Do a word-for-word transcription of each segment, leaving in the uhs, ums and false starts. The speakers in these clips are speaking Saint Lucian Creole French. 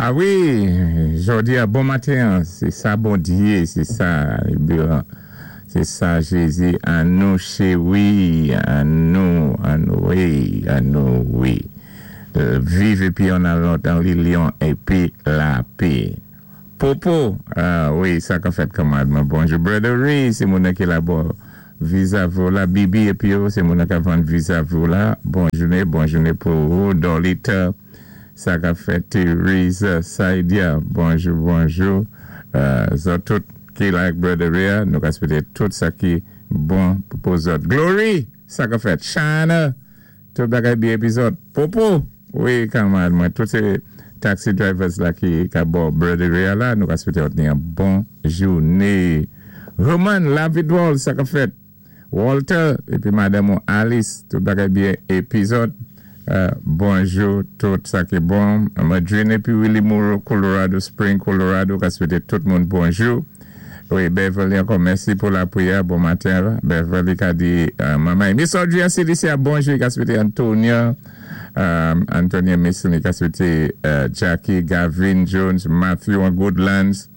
A wi, jòdi-a bon maten, sé sa Bondyé, sé sa, sé sa Jézi, annou chéwi, annou, annou, wi, annou, wi. Viv épi an lòd, an linyon, épi lapè. Popo, a wi, sa ka fèt kanmarad, bonjou. Brother Ray, sé moun ki la bò vizavi la, Bibi épi yo, sé moun ki vann vizavi la. Bon jounen, bon jounen pou ou. Dolita, sa ka fèt Theresa, Saidia, bonjou, bonjou. Euh, zòt tout ki like Brother Ray, nou ka swété tout sa ki bon pou zòt. Glory, sa ka fèt. Shana, tout bagay byen épi zòt. Popo, wi, kanmarad, mwen, tout sé taxi drivers la ki ka bò Brother Ray la, nou ka swété yon bon jounen. Roman, la vidwòl, sa ka fèt. Walter, épi madanm Alice, tout bagay byen épi zòt. Euh, bonjou, tout sa ki bon. Madrine épi Willie Moore, Colorado Spring, Colorado, ka swété tout moun bonjou. Wi, Beverly, ankò mèsi pou lapriyè. Bon maten. Beverly ka di, euh, manman. Miss Audrey C D C, bonjou, ka swété Antonia, euh, Antonia Mason, ka swété euh, Jackie, Gavin Jones, Matthew Goodlands.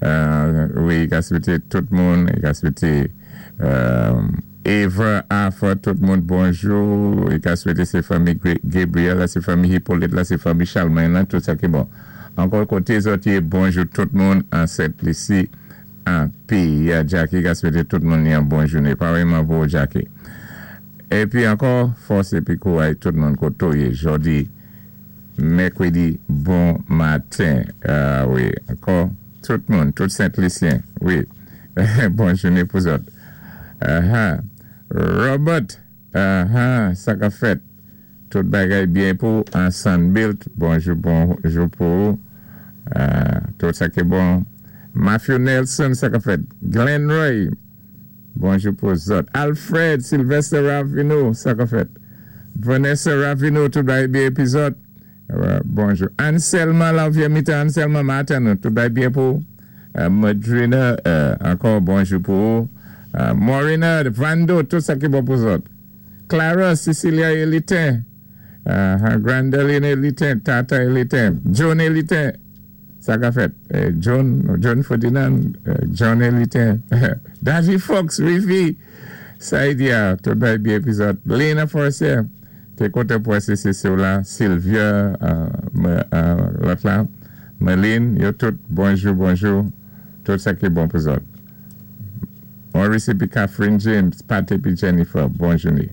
Euh, wi, ka swété tout moun, ka swété euh, Eva, Afa, tout moun bonjou. I ka swété sé fanmi Gabriel, la, sé fanmi Hippolyte, la, sé fanmi Charlemagne, la, tout sa ki bon. Ankò koté zòt bonjou tout moun an Sent Lisi, an pi, Jackie ka swété tout moun yon bon jounen. Parèyman pou Jackie. Épi ankò, fòs épi kouray tout moun koté ou yé jòdi, mèkwédi, bon maten. Ah wi, ankò, tout moun, tout Sent Lisyen, wi. Bon jounen pou zòt. Uh-huh. Robert, uh-huh, sa ka fèt. Tout bagay byen pou an Sunbuilt. Bonjou, bonjou pou ou. Uh, tout sa ki bon. Matthew Nelson, sa ka fèt. Glenn Roy, bonjou pou zòt. Alfred Sylvester Ravino, sa ka fèt. Vanessa Ravino, tout bagay byen épi zòt. Uh, bonjou. Anselma Laviamita, Anselma Martin, tout bagay byen pou. Uh, Madrina, uh, ankò bonjou pou ou. Uh, Morina, Vando, tout sa ki bon pou zòt. Clara, Cecilia Elitin, uh, Grandeline Elitin, Tata Elitin, John Elitin, sa ka fèt. Eh, John, John Ferdinand, uh, John Elitin, David Fox, Rivi, Saidia, tout bagay byen épi zòt. Lena Forcier, té kontan pou S C C la, Sylvia, uh, uh, lòt la, Meline, yo tout, bonjou, bonjou, tout sa ki bon pou zòt. Maurice épi Catherine James, Pat épi Jennifer, bon jounen.